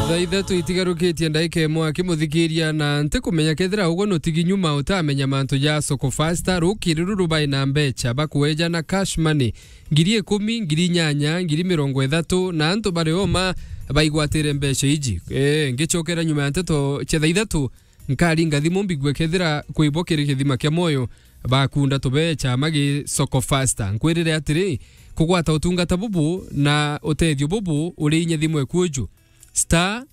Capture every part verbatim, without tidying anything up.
Thaa ithatu itigarukitie ndaika imwe akimuthikiria, na ntikumenya kethira ugwe nutigi nyuma utamenya mantu ja Soko Fasta. Rukiri ruru bai na mbecha bakweja na cash money ngiri ikumi, ngiri inyanya, ngiri mirongo ithatu, na antu bari oma baigwatire mbecha iji. Ee, ngicokera nyuma ya nteto cia thaa ithatu, nkaringa thimu mbigue kethira kwibo kiri kithima kia mwoyo bakunda tubecha magi Soko Fasta. Nkwirire atiri, kugwata utungata bubu na utethio bubu uri inya thimu ekuju. Star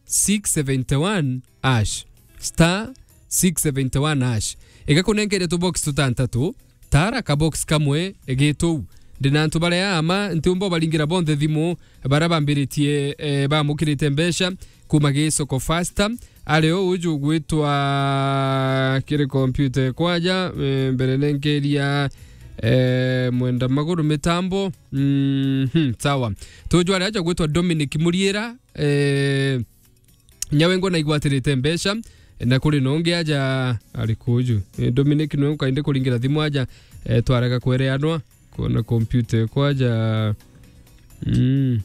six seventy one hash. Star six seventy one hash. Igakunenkeria tubox tutantatu, tara kabox kamwe gituu. Ndina antu baria ama ntiumba ubaringira bonthe thimu, baria bambiritie, eh, bamukirite mbecha kuma gi Soko Fasta. Ari o uju ugwitwa kiri kompyuta kwaja, eh, mbere nenkeria, eh, mwenda maguru mitambo. Mhm, sawa. Tuju ari aja gwitwa Dominic Muriira, eh, Nyawengo naigwatirite mbecha, na kuri nongi aja ari kuju. Eh, Dominic nwe ukainde kuringira thimu aja, eh, twarega kwereanwa, kuona kompyuta kwaja. Mm.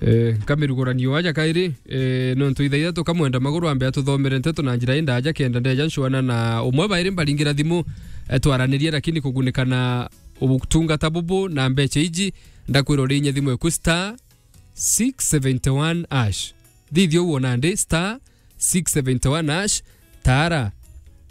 Eh, nkamirugurania aja kairi, eh, nontu ithaitha tukamwenda maguru ambe atuthomere nteto na njira indaja kenda ndeja ncwana na umwe bairi mbaringira thimu, eh, twaranirie, lakini kugunikana ubutungata bubu na mbecha iji, ndakwira urinye thimu eku star six seventy one hash. Thithia uguo nandi, star six seventy one hash, tara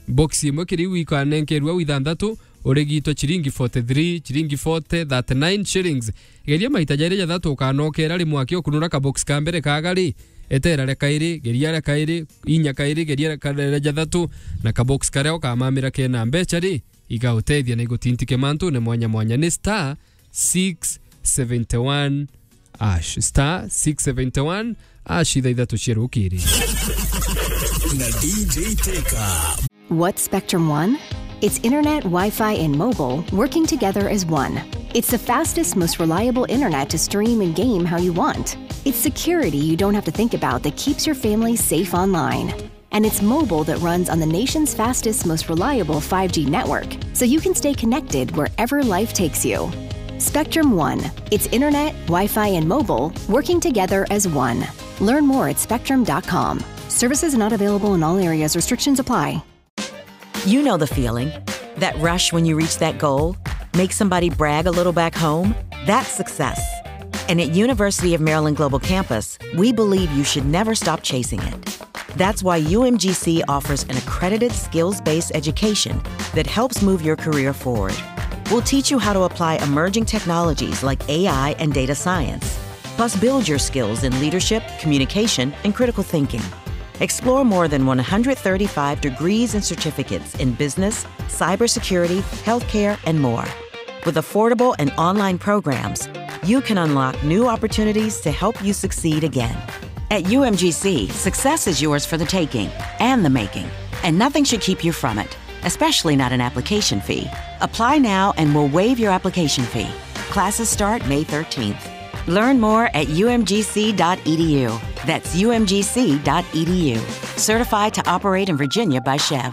box imwe kiri iu ikanenkerua au ithanthatu, urigitwe chiringi forty three, chiringi forty, thirty nine shillings. Geria maita jairi jathatu ukanokera ri mwaki ukunura kabox ka mbere kaga ri, etera ria kairi, geria ria kairi, inya kairi, geria ria ka-, ria jathatu, na kabox karia ukamamira kena mbecha ri, igautethia na igutintike mantune mwanya mwanya. Ni star six seventy one hash. Star six seventy one hash, ithaithatu cia rukiri. Na D J Teka. What's Spectrum One? It's internet, Wi-Fi, and mobile working together as one. It's the fastest, most reliable internet to stream and game how you want. It's security you don't have to think about that keeps your family safe online. And it's mobile that runs on the nation's fastest, most reliable five G network, so you can stay connected wherever life takes you. Spectrum One. It's internet, Wi-Fi, and mobile working together as one. Learn more at spectrum dot com. Services not available in all areas. Restrictions apply. You know the feeling. That rush when you reach that goal makes somebody brag a little back home. That's success. And at University of Maryland Global Campus, we believe you should never stop chasing it. That's why U M G C offers an accredited skills-based education that helps move your career forward. We'll teach you how to apply emerging technologies like A I and data science, plus build your skills in leadership, communication, and critical thinking. Explore more than one hundred thirty-five degrees and certificates in business, cybersecurity, healthcare, and more. With affordable and online programs, you can unlock new opportunities to help you succeed again. At U M G C, success is yours for the taking and the making, and nothing should keep you from it, especially not an application fee. Apply now and we'll waive your application fee. Classes start May thirteenth. Learn more at U M G C dot E D U. That's U M G C dot E D U. Certified to operate in Virginia by Chev.